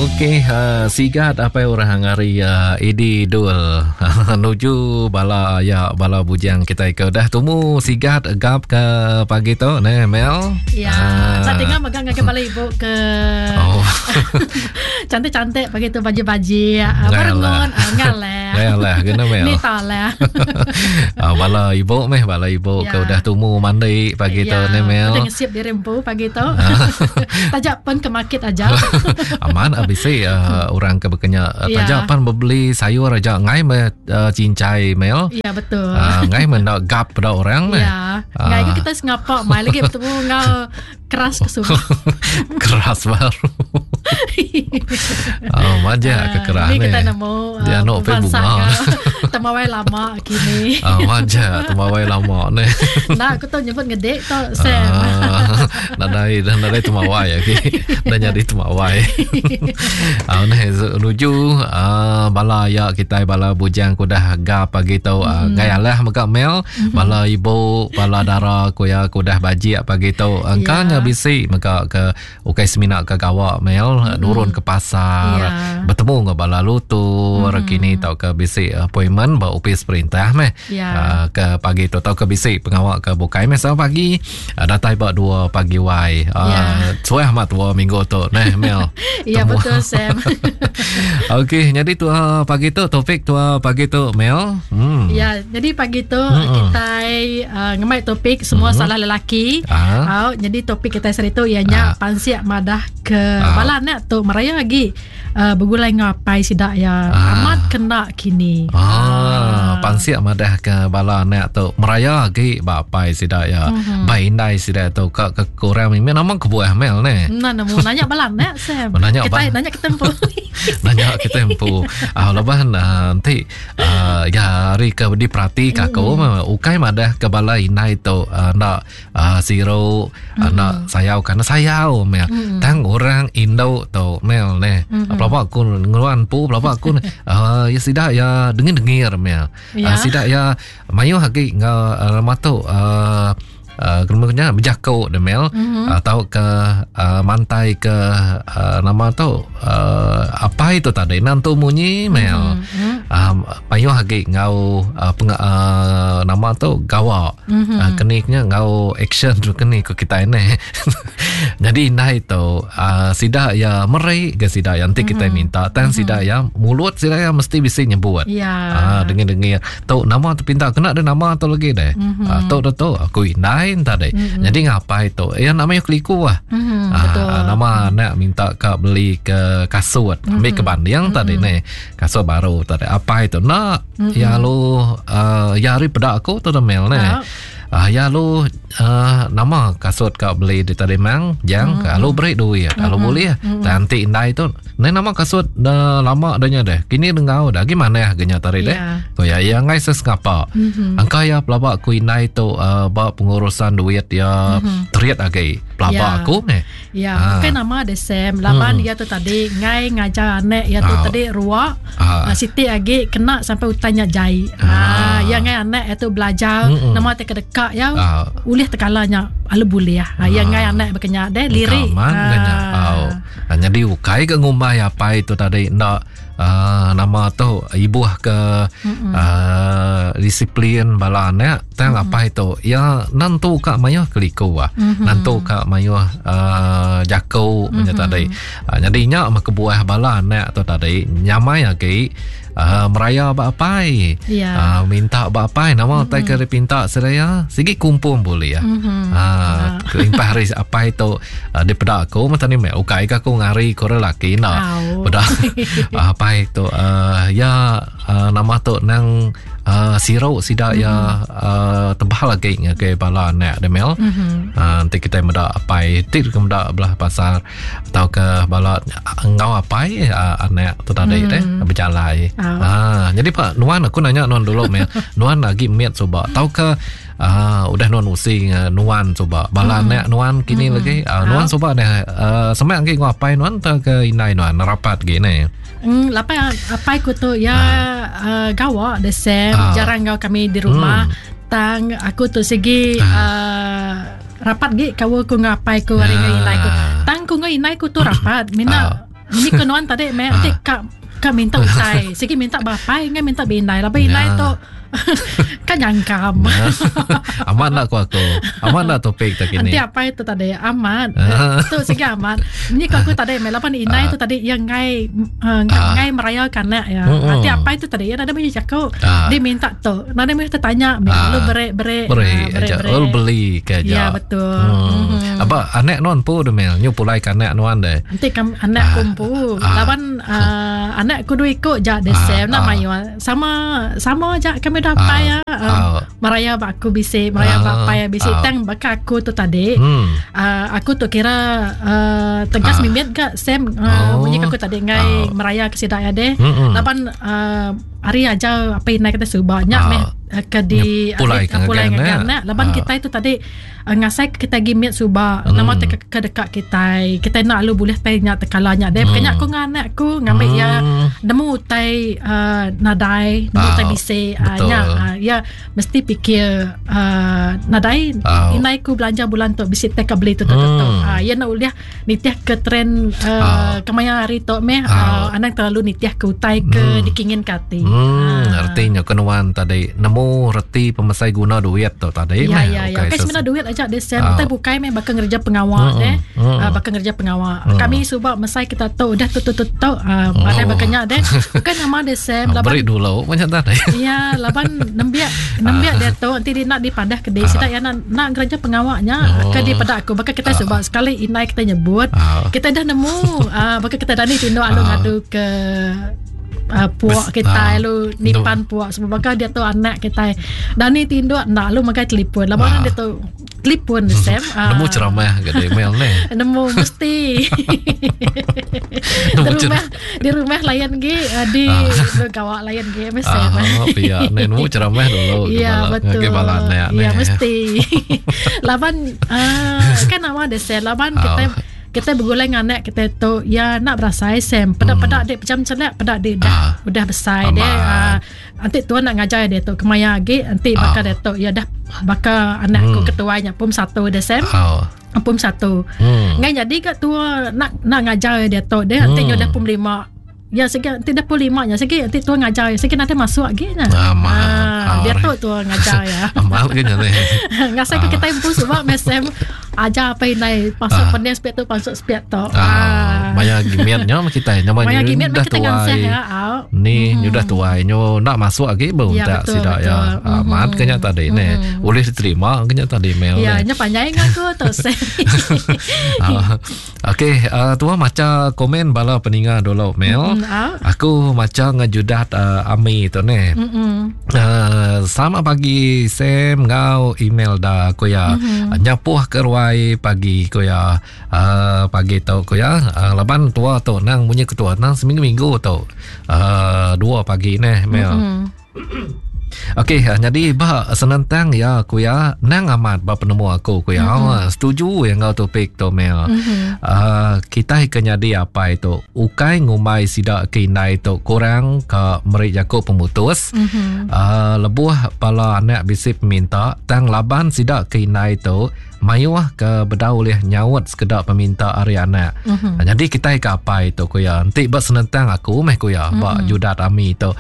Okey, uh, sigat apa orang hari uh, Edi Dul nuju bala ya bala bujang kita ke dah tumu sigat gap ke pagi tu ne Mel. Ya, uh. saya tengok megang ngagai bala ibu ke. Oh. Cantik-cantik pagi tu baju-baju uh, barengon uh, ngalah. Ngalah kena Mel. Ni talah. uh, bala ibu meh bala ibu ya. ke udah tumu mandi pagi ya. tu ne Mel. Udah ngesiap diri empu pagi tu. Tajak pen ke market aja. Aman abis uh, orang ke bekenya uh, ya. tajak pan beli sayur aja ngai me uh, cincai Mel. Ya betul. Uh, ngai me nak gap pada orang meh. Ya. Ngai uh. kita sengapa mai lagi bertemu ngau keras ke suba. keras baru. oh, manja uh, ke keras ni. Kita nemu uh, dia nak pe bunga. Temawai lama kini. Ah, manja temawai lama ni. Nah, aku tu nyebut ngedek tu Sam. Uh, nadai nadai temawai lagi. Dah jadi temawai. Ah, ni nuju uh, bala ya kita bala bujang kudah ga pagi tu uh, ngai alah mega mel mm-hmm. Bala ibu, bala dara ku ya ku udah bajik pagi tu. Engka yeah. nya bisi mega ke ukai semina ke gawa mel mm-hmm. nurun ke pasar, yeah. betemu enggau bala lutur mm-hmm. kini tauka bisi appointment ba opis perintah meh. Yeah. Uh, ke pagi tu tauka bisi pengawa ke bukai meh sama pagi uh, datai ba 2 pagi wai. Uh, yeah. Suah amat tua minggu tu neh mel. Ya betul Sam. Okey, jadi tu pagi tu topik tu pagi tu Mel. Hmm. Ya, jadi pagi tu hmm. kita uh, ngemai topik semua hmm. salah lelaki. Ah. Uh, jadi topik kita sehari tu ianya ah. pansik madah ke ah. bala anak tu meraya lagi uh, begulai ngapai sidak ya. Ah. Amat kena kini. Ah, ah. pansik madah ke bala anak tu meraya lagi ba apai sidak ya. Hmm. Ba indai sidak tu ka ke kurang mimpi nama kebuah Mel ne. Nah, nemu nanya bala anak Sam. Nanya kita nanya kita empu. nanya kita empu. Ah, laban nanti uh, ya hari ke diperhati ke aku mm. ukai madah ke bala indai tu uh, nak uh, siru mm. uh, nak sayau karena sayau mel mm. tang orang indo tu mel ne mm. pelapa aku ngeluan pu pelapa aku uh, ya sidak ya dengir-dengir mel ya. uh, sidak ya mayuh agi ngau uh, nama tu uh, uh, kena nya bejako de mel mm-hmm. atau ke uh, mantai ke uh, nama tu uh, apa itu tadi nantu munyi mel mm-hmm. uh, mayuh agi ngau uh, peng, uh, nama tu gawa mm-hmm. uh, keniknya ngau action tu keni ko kita ini jadi indai tu uh, sida ya meri ke sida yang nanti kita mm-hmm. minta tang mm-hmm. sida ya mulut sida ya mesti bisi nyebut ya uh, dengar-dengar Tu nama tu pinta kena ada nama tu lagi deh. Mm-hmm. Uh, tu tu tu aku indai entah deh. Mm-hmm. Jadi ngapai tu? Ya namanya keliku lah. Mm-hmm, uh, betul. Nama anak minta ka beli ke kasut. Mm-hmm. Ambil ke banding mm-hmm. tadi ni. Kasut baru tadi. Apa itu? Nak mm-hmm. ya lu uh, ya hari pedak aku tu mel ni. Uh. Uh, ya lu uh, nama kasut kau beli di tadi mang jang mm-hmm. lu beri duit mm-hmm. lu boleh mm-hmm. nanti indai tu ni nama kasut dah lama dah nya deh kini dengau dah gimana ya genya tadi deh yeah. ko ya ya ngai sesengapa mm-hmm. angka ya pelaba ku indai tu uh, ba pengurusan duit ya mm-hmm. terit agi pelaba yeah. aku ni ya ha. bukan nama de Sam laban hmm. ya tu tadi ngai ngajar anak ya tu ah. tadi ruak ah. siti agi kena sampai utanya jai ah. ah ya ngai anak ya tu belajar mm-hmm. nama te kedeka ya ah. ulih tekala nya alu boleh ah. ya ngai anak bekenya de lirik ah. ah. jadi ukai ke ngumbai apa itu tadi ndak uh, nama tu ibuh ke uh, disiplin bala anak tang mm-hmm. apa itu ya nantu ka mayuh keliku ah mm-hmm. nantu ka mayuh uh, jako mm-hmm. tadi uh, jadi nya mah kebuah bala anak tu tadi nyamai agi uh, meraya ba apai yeah. uh, minta ba apai nama mm-hmm. tai ke dipinta seraya sigi kumpul boleh ya mm-hmm. uh, kelimpah hari apai tu uh, dipeda aku macam ni meh ukai ka aku ngari ko lelaki na peda uh, apai tu uh, ya uh, nama tu nang uh, siru sida mm-hmm. ya uh, tebal lagi ngagai bala anak dia mel mm-hmm. uh, nanti kita meda apai ti ke meda belah pasar atau ke bala engau apai uh, anak tu tadi mm-hmm. deh berjalai oh. uh, jadi pak nuan aku nanya nuan dulu mel nuan lagi miat coba tau ke Uh, udah nuan usi uh, nuan suba bala mm. anak nuan kini mm. lagi uh, nuan suba dah uh, semak lagi ngau apai nuan atau ke indai nuan rapat gini Hmm, lapai apai ku tu ya uh. Uh, gawa the same uh. jarang ngau kami di rumah mm. tang aku tu segi uh. Uh, rapat gi kawa ku ngau apai ku hari ngau indai ku tang ku ngau indai ku tu rapat mina uh. Ni ke nuan tadi meh enti ka ka minta utai sigi minta ba apai ngai minta bindai laban indai tu ka nyangkam. Amat enda ku aku. Amat enda topik tu kini. Enti apai tu tadi amat. Tu sigi amat. Ni ku aku tadi meh laban indai tu tadi iya enggai enggai meraya ke anak iya. Enti apai tu tadi iya nadai meh jaku dia minta tu. Nadai meh tetanya meh lalu beri beri beri aja. Lalu beli ke aja. Ya betul. Aba anak nuan empu deh mel. Nyu pulai ke anak nuan deh. Enti kam anak ku empu laban anak ku dua iku ja deh Sam enda mayuh. Sama sama aja kami dah apai ya. Meraya ba aku bisi, meraya ba apai bisi tang baka aku tu tadi. Aku tu kira tegas mimit ga Sam munyi aku tadi ngai meraya ke sida ya deh. Laban ari ajar apai indai kita suba nya meh ke di pulai ke ngagai anak laban kitai tu tadi ngasai ke kitai agi mit suba nama te ke deka kitai kitai enda lalu bulih tai nya tekala nya deh pekanya aku ngan anak aku ngambi iya nemu utai uh, nadai nemu utai bisi uh, nya uh, iya mesti pikir uh, nadai indai ku belanja bulan tu bisi tai ka beli tu tu tu uh, iya enda ulih nitih ke trend uh, kemaya hari tu meh uh, anang terlalu nitih ke utai ke hmm. dikingin ke ati. Hmm, uh. artinya ke nuan tadi nemu reti pemesai guna duit tu tadi ya, meh. Ya, ya. Kai semina duit aja deh Sam. Utai bukai meh baka ngereja pengawa hmm. deh. Hmm. Uh, baka ngereja pengawa. Hmm. Kami suba mesai kita tu udah tu tu tu tu uh, oh. baka nya deh. Bukan nama deh Sam laban beri dulu macam tadi. Ya, laban nembiak nembiak dia tu nanti dia nak dipadah ke dia sida ya nak nak ngereja pengawa nya oh. ke dipeda aku baka kita suba sekali indai kita nyebut oh. kita dah nemu uh, baka kita dah ni tinduk alu oh. ngadu ke uh, puak kita uh, lu nipan puak semua baka dia tu anak kita dah ni tinduk nak lu makai telefon lama uh. dia tu telefon hmm. Sam uh, nemu ceramah ke dia email ni nemu mesti di rumah di rumah layan gi eh, di uh. gawa layan gi mesti uh, pia ni nemu ceramah dulu ya betul ke bala anak ya mesti laban uh, kan nama dia Sam laban kita kita begulai dengan anak kita tu ya nak berasai Sam peda-peda hmm. dek pejam celak peda dek dah uh, udah besar dek uh, Enti tuan nak ngajar dia tu kemaya agi enti baka dia tu ya dah baka anak aku hmm. ketuai nya pum satu dia Sam. Oh. Pum satu. Hmm. Ngai jadi ka tua nak nak ngajar dia tu dia enti hmm. dah pum lima. Ya segi enti dah pum lima nya segi enti tua ngajar segi nanti masuk agi nya. Amal. Ha, dia tu tua ngajar ya. Amal ke nya ni. Ngasai ke kita empu sebab mesem ajar apa indai pasuk ah. pening sepiak tu pasuk sepiak tu. Ah. ah. Maya gimiat nya kita nya maya gimiat dah tuai. Ya, Ni hmm. nyudah tuai nyo nak masuk lagi baru ya, tak sidak ya. Hmm. Amat kenya tadi ni. Hmm. Boleh diterima kenya tadi mail. Ya, nya panjai ngaku tu. uh, Okey, uh, tua maca komen bala peninga dulu mail. Mm, uh. Aku maca ngejudat uh, Ami tu ni. Mm uh, selamat pagi Sam ngau email dah aku ya. Mm-hmm. Nyapuh ke ruai pagi ku ya. Uh, pagi tu ku ya. Uh, laban tua tu nang munyi ketua nang seminggu-minggu tu. Uh, dua pagi ni mail. Mm-hmm. Okey, ah, jadi ba senentang ya aku ya nang amat ba penemu aku ku ya. Mm-hmm. Setuju yang enggau topik tu Mel. Mm-hmm. Uh, kita ke nyadi apa itu? Ukai ngumbai sida ke indai tu kurang ke meri jaku pemutus. Mm-hmm. Uh, lebuh bala anak bisi peminta tang laban sida ke indai tu mayuh ke bedau ulih nyaut sekeda peminta ari anak. Mm-hmm. Jadi kitai ke apai tu ku ya. Enti ba senentang aku meh ku ya mm-hmm. ba judat ami tu.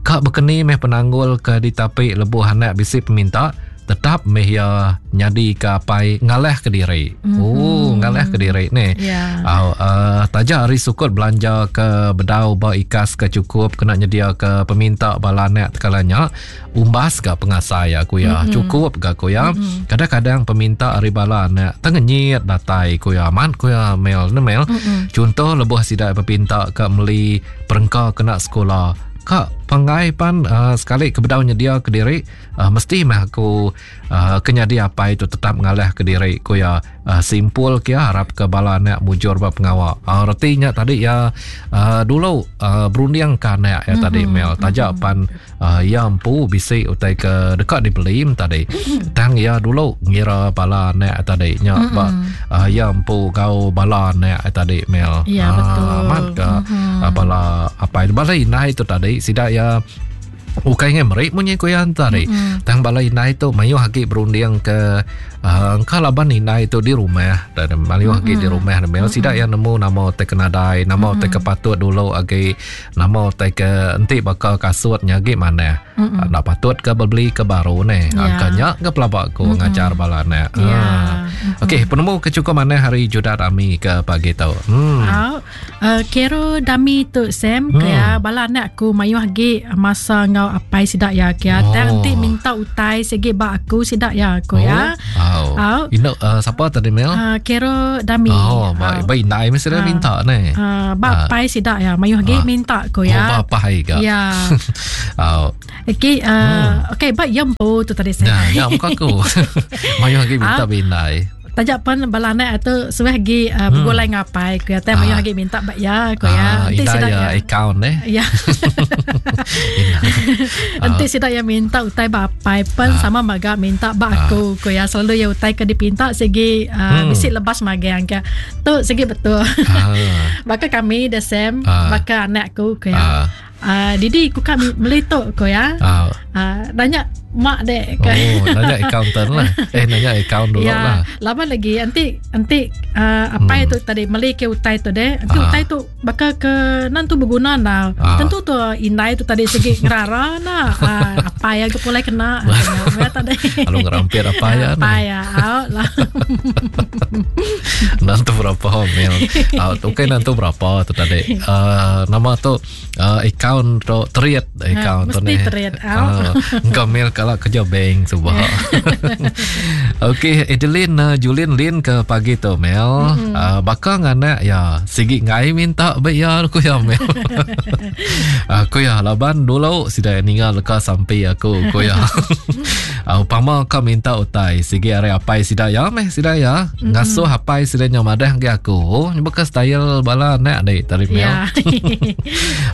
Ka bekeni meh penanggul ke ditapi lebuh anak bisi peminta tetap meh iya nyadi ke apai ngalah ke diri. Mm-hmm. Oh, ngalah ke diri ni. Yeah. Uh, uh, taja ari sukut belanja ke bedau ba ikas ke cukup kena nyedia ke peminta bala anak tekala nya umbas ga pengasai aku ya. Mm-hmm. Cukup ga aku ya. Mm-hmm. Kadang-kadang peminta ari bala anak tengenyit datai ku ya. Amat ku ya Mel ne Mel. Mm-hmm. Contoh lebuh sida pepinta ke meli perengka kena sekolah ka panggai pan uh, sekali ke bedau nyedia ke diri uh, mesti meh aku uh, ke nyadi apai tu tetap ngalah ke diri ku ya uh, simpul ke ya harap ke bala anak mujur ba pengawa uh, reti nya tadi ya uh, dulu uh, berunding ke anak ya mm-hmm. tadi Mel taja mm-hmm. pan uh, ya empu bisi utai ke deka dibeli tadi tang ya dulu ngira bala anak tadi nya mm-hmm. ba uh, ya empu gau bala anak tadi Mel ya uh, betul amat ke mm-hmm. uh, bala apai bala indai tu tadi sida ya. Ukai ngai meri munyi ku iya tadi. Tang bala indai tu mayuh agi berunding ke uh, engka laban indai tu di rumah dan mayuh agi di rumah mm Sida iya nemu nama utai ke nadai, nama utai ke patut dulu agi, nama utai ke enti baka kasut nya agi manah. Enda patut ke bebeli ke baru neh. Yeah. Engka nya ke pelaba ku ngajar bala anak. Yeah. Uh. Okey, penemu ke cukup manah hari Judat Ami ke pagi tu. Hmm. Uh. Kero dami tu Sam hmm. Kia bala anak aku mayuh agi masa enggau apai sida ya kia oh. tang enti minta utai sigi ba aku sida ya aku oh. ya. Oh. Oh. Ino uh, siapa tadi Mel? Kero dami. Oh, ba ba indai mesti uh, minta ne. Ba uh. apai sida ya mayuh agi uh. minta ko ya. Oh, ba apai ga. Ya. oh. Okey, okey ba yempu tu tadi Sam. Ya, ya muka aku. mayuh agi minta uh. ba indai. Taja pen bala anak tu suah agi uh, begulai hmm. ngapai ku ya tai mayuh agi minta ba ya ku ya. Enti sida ya account eh. Ya. Enti sida ya minta utai ba apai pen sama maga minta ba aku ku ya selalu ya utai ke dipinta sigi uh, hmm. bisi lebas magang ke. Tu sigi betul. Baka kami the same baka anak aku ku ya. Didi ku ka meli tu ku ya. Nanya mak dek ke. Oh, nanya accountant lah. Eh nanya account dulu ya, lah. Lama lagi enti enti apai tu tadi meli ke utai tu dek. Enti utai tu baka ke nan tu berguna na. Tentu tu indai tu tadi segi ngerara na. Apai aku pulai kena. Ya tadi. Lalu ngerampit apai ya. Apai ya. Lah. Nanti berapa mil. Okey nanti berapa tu tadi. Nama tu account tu trade account tu ni. Mesti trade. Engkau mil kalau kerja bank sebab. Okey, Adeline Julin Lin ke pagi tu Mel. Mm-hmm. Baka nganak ya sigi ngai minta be ya aku ya Mel. Aku ya laban dulu sida ninga leka sampi aku ku ya. Upama ka minta utai sigi ari apai sida ya meh sida ya. Mm-hmm. Ngasuh apai sida nya madah ngi aku. Baka style bala anak dik tadi Mel. Yeah.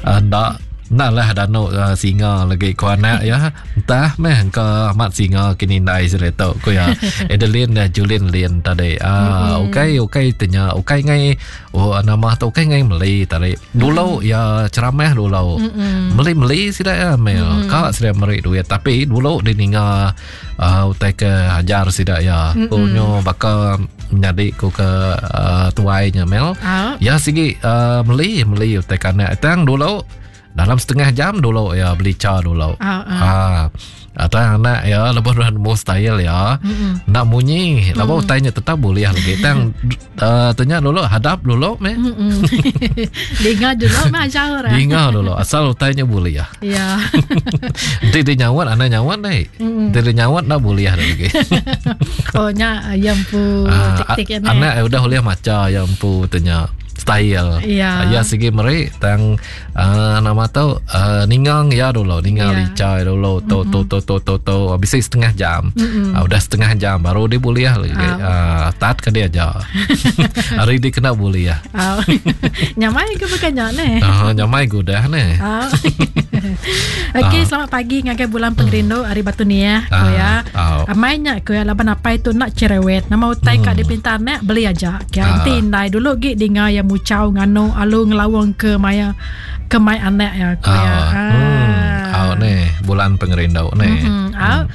Enda Enda lah danu uh, singa lagi ku anak ya. Entah meh engka amat singa kini indai sida tu ku ya. Adeline uh, Julin Lin tadi. Ah mm-hmm. ukai ukai tanya ukai ngai oh nama tu ukai ngai meli tadi. Dulu mm-hmm. ya ceramah dulu. Mm-hmm. Meli-meli sida ya mel. Mm-hmm. Ka sida meri duit tapi dulu dia ninga uh, utai ke ajar sida ya. Mm-hmm. Ku nyo baka menyadi ku ke uh, tuai nya mel. Uh. Ya sigi uh, meli meli utai kanak tang dulu dalam setengah jam dulu ya beli cha dulu. Ah. Atau anak ya lebuh dah nemu style ya. Mm-hmm. Nak munyi, lebuh mm. utainya tetap boleh lagi. Tang uh, tanya dulu hadap dulu meh. Dengar dulu meh ajar. Dengar dulu asal utainya boleh ya. Ya. Enti dia nyawat anak nyawat dai. Mm. Enti dia nyawat dah boleh lagi. oh nya yang pu ah, tik-tik ya. Anak udah boleh maca yang pu tanya style. Ya. Ya sigi meri tang uh, nama tu uh, ningang ya dulu ningang yeah. licha dulu tu mm-hmm. tu tu tu tu tu habis setengah jam. Mm-hmm. Uh, udah setengah jam baru dia boleh lagi. Uh. Uh, tat ke dia aja. Hari dia kena boleh ya. Uh. Nyamai ke bukan nya ne? Uh, nyamai ke udah ne. Uh. Okey, uh. selamat pagi ngagai bulan pengerindu hari Batu Niah ko ya. Amai nya ko ya laban apai tu nak cerewet. Nama utai ka dipinta anak beli aja. Ke enti indai dulu gi dinga ya muchau nganu alu ngelawang ke maya ke mai anak ya ko ya. Hmm. Au ne bulan pengerindu ne. Hmm. Au.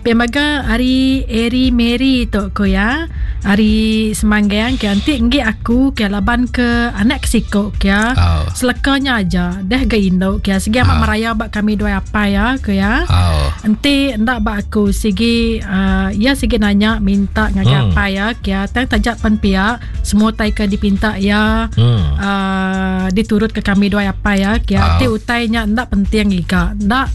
Pia mega ari Eri Mary tu ko ya. Ari Semanggang ke enti enggi aku ke laban ke anak ke siko ke ya. Oh. Selekanya aja deh ga indu ke sigi amat oh. meraya ba kami dua apai ya ko ya. Oh. Enti enda ba aku sigi uh, ya sigi nanya minta ngagai apai ya ke tang taja pen pia semua utai ke dipinta ya uh, diturut ke kami dua apai ya ke oh. enti utai nya enda penting iga enda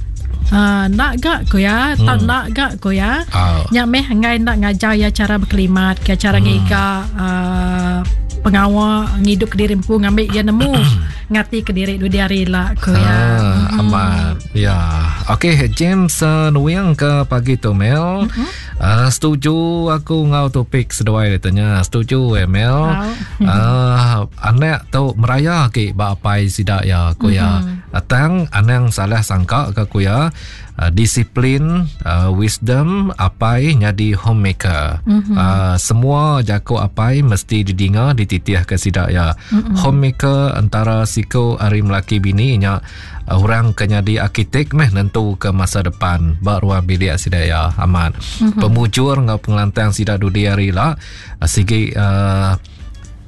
Uh, nak ga ko ya tak nak ga ko ya oh. nya meh enggai nak ngajar ya cara berkelimat ke cara ngiga uh, pengawa ngidup ke diri empu ngambi ya nemu ngati ke diri dudi hari lah ko ya ah, amat ya okey James uh, Nuing ke pagi tu Mel uh, setuju aku ngau topik seduai dia tanya setuju eh Mel uh, anak tu meraya ke ba apai sida ya ko ya Tang anang salah sangka ka ku iya, disiplin, wisdom apai nyadi homemaker. Semua jaku apai mesti didinga dititihka sida iya. Homemaker entara siku ari melaki bini nya. Orang ke nyadi arkitek meh nentu ke masa depan ba ruang bilik sida iya amat. Mm-hmm. Pemujur enggau pengelantang sida dudi hari ila sigi uh,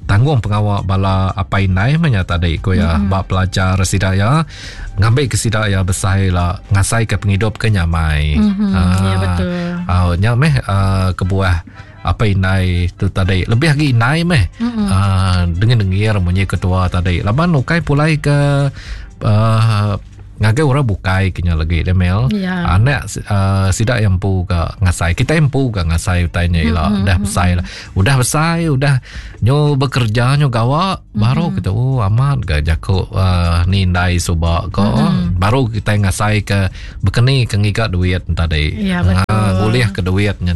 tanggung pengawa bala apai indai meh nya tadi ku iya mm-hmm. ba pelajar sida iya ngambi ke sida iya besai la ngasai ke pengidup ke nyamai. Mm-hmm. Uh, ya betul. Uh, nya meh uh, kebuah apai indai tu tadi lebih agi indai meh mm-hmm. uh, dengan dengir munyi ketua tadi laban ukai pulai ke uh, ngagai orang bukai kenya lagi dia mel yeah. anak uh, sida yang empu ke ngasai kita empu ke ngasai utai nya ila mm-hmm. dah besai lah udah besai udah nyo bekerja nyo gawa mm-hmm. baru kita oh amat ga jako uh, ni indai suba ko mm-hmm. baru kita ngasai ke bekeni ke ngiga duit tadi ya, betul. Uh, ngulih ke duit nya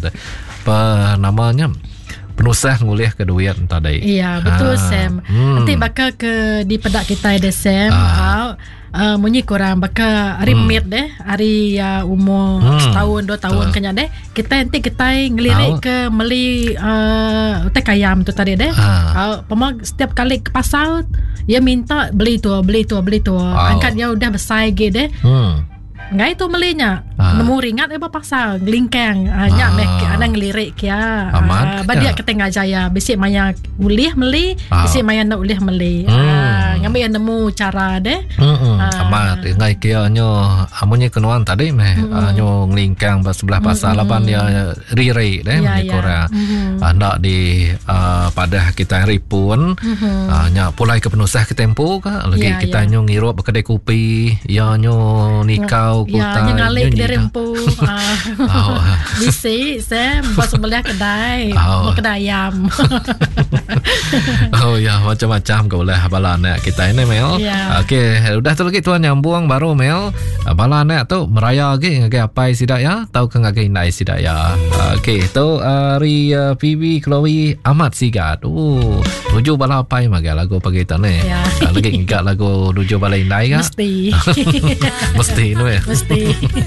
Apa namanya penusah ngulih ke duit tadi. Ya, betul ha. Sam. Nanti baka ke dipedak kita deh Sam. Ha. Uh, munyi kurang baka hari hmm. mid deh, hari uh, umur setahun dua tahun kenya deh. Kita nanti kita ngelirik ke meli uh, utai kayam tu tadi deh. Ha. Uh, pema setiap kali ke pasar ia minta beli tu, beli tu, beli tu. Angkat dia udah besar ge deh. Enggai tu meli nya. Ah. Nemu ringat ba pasar ngelingkang. Ah, nya meh ah. anang ngelirik kia. Amat. Ah, ba dia kita ngajar ya bisi maya ulih meli, ah. bisi maya enda ulih meli. Hmm. Ah, ngambi ya nemu cara deh. Hmm. Ah. Amat enggai kia nyo amunye kenuan tadi meh hmm. ah, nyo ngelingkang ba sebelah pasar hmm. laban dia riri deh ya, ya. korang. Hmm. Ah, ndak di uh, padah kita ripun. Hmm. Ah, nya pulai ke penusah ke tempo ka lagi ya, kita ya. nyo ngirup kedai kopi ya nyo nikau ya, kutai nyo ngalih kedai rempu ah. Bisi Sam ba sebelah kedai oh. kedai ayam oh ya macam-macam ke ulah bala anak kita ini Mel ya. Okey udah tu lagi tuan nyambung baru Mel bala anak tu meraya lagi ngagai apai sida ya tau ke ngagai indai sida ya okey tu hari uh, PB Chloe amat sigat oh Nuju bala apai maga lagu pagi tu ni. Ya. Lagi ngiga lagu nuju bala indai ka? Mesti. Mesti nu ya. Mesti.